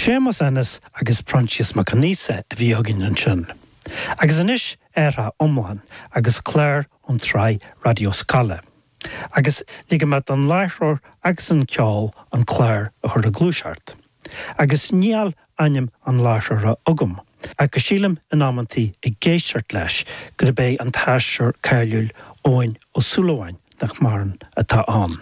Séamus Ennis agus Proinsias Mac Aonghusa a bhí againn ansin. Agus anois athrá iomlán agus clár ón tsraith Raidió Scoile. Agus ligfidh mé don láithreoir agus an ceol an clár a chur ag gluaiseacht. Agus níl ainm an láithreora agam, ach go sílim in amantaí ag éisteacht leis gurb é an t-aisteoir cáiliúil Eoin Ó Súilleabháin, nach maireann, atá ann.